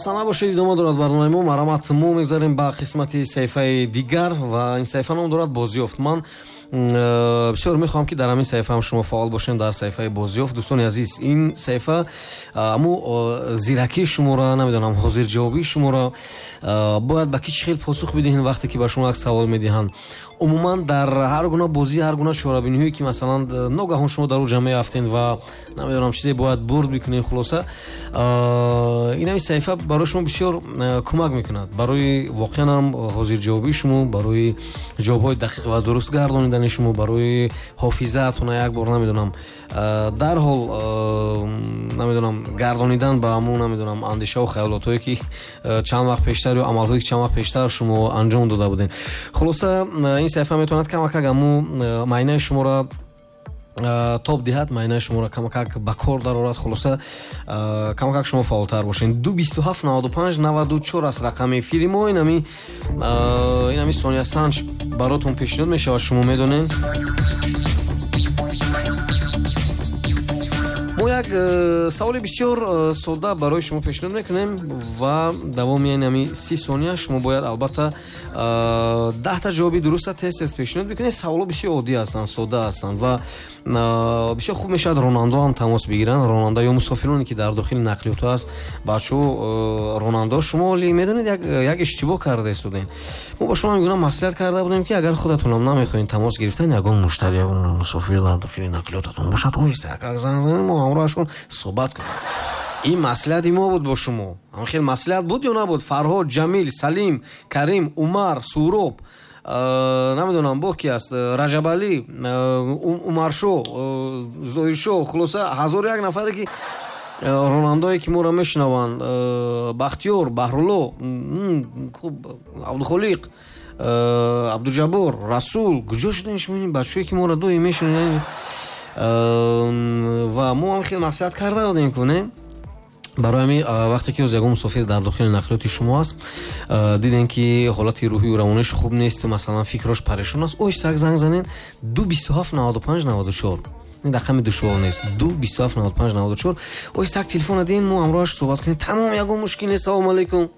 Сана бошед, идома дорад барномаи мо. Марҳамат, мо мегузарем ба қисмати саҳифаи дигар ва ин саҳифа ном дорад «Бозиёфт». Ман бисёр мехоҳам, ки дар ҳамин саҳифа ҳам шумо фаъол бошед, дар саҳифаи «Бозиёфт». Дӯстони азиз, ин саҳифа аму зиракии шуморо, намедонам, ҳозирҷавобии шуморо, бояд ба ки чӣ хел посух бидиҳед, вақте ки ба шумо як савол медиҳанд. Умуман, дар ҳар гуна бозӣ, ҳар гуна чорабиниҳое, ки масалан ногаҳон шумо дар ӯ ҷамъ меафтед ва, намедонам, чизе бояд бурд бикунед, хулоса, ин ҳамин саҳифа барои шумо бисёр кӯмак мекунад, барои воқеан ҳам ҳозирҷавобии шумо, барои ҷавобҳои дақиқ ва дуруст гардонидани шумо, барои ҳофизаатона як бор, намедонам, дарҳол, намедонам, гардонидан ба ҳамун, намедонам, андешаву хаёлотҳое, ки чанд вақт пештар, ё амалҳое, ки чанд вақт пештар шумо анҷом дода будед. Хулоса, ин саҳифа метавонад камакак ҳамун майнаи шуморо тоб диҳад, майнаи шуморо камакак ба кор дарорад. Хулоса, камакак шумо фаъолтар бошед. 2 27 95 94 аст рақами эфири мо. Инами сониясанҷ баротон пешниҳод мешавад. Шумо медонед, мо як саволи бисёр содда барои шумо пешниҳод мекунем ва давоми инами 30 сония шумо бояд, албатта, 10-та ҷавоби дуруста тез тез пешниҳод бикунед. Саволҳо бисёр оддӣ ҳастанд, содда ҳастанд ва бисёр хуб мешавад, ронандао ҳам тамос бигиранд, ронанда ё мусофироне, ки дар дохили нақлиётҳо аст. Бачаҳо, ронандао, шумо оли медонед, як иштибоҳ карда истодем. Мо бо шумо мегӯям, маслиҳат карда будем, ки агар худатонам намехоҳед тамос гирифтан, ягон муштари, ягон мусофир дар дохили нақлиётатон бошад, оҳиста як занг занед, мо ҳамроҳашон суҳбат кунем. Ин маслиҳати мо буд бо шумо. Ҳам хел маслиҳат буд ё набуд? Фарҳод, Ҷамил, Салим, Карим, Умар, Суроб, намедонам, бо ки аст, Раҷабалӣ, Умаршо, Зоҳиршо, хулоса, ҳазору як нафаре, ки ронандаое, ки моро мешунаванд, Бахтиёр, Баҳрулло, хуб, Абдухолиқ, Абдуҷаббор, Расул, куҷо шудем шумо, ин бачаҳое, ки моро доим мешунаванд? Ва мо ҳам хеле маслиҳат карда будем, ку не? Барои ҳамин, вақте ки ягон мусофир дар дохили нақлиёти шумо аст, дидем, ки ҳолати рӯҳию равониш хуб нест, масалан, фикрош парешон аст, оҳиста як занг занед: 2 27 95 94. Ин рақами душвор нест: 2 27 95 94. Оҳиста як телефона диҳен, мо ҳамроҳаш суҳбат кунем, тамом, ягон мушкил нест. Салому алайкум.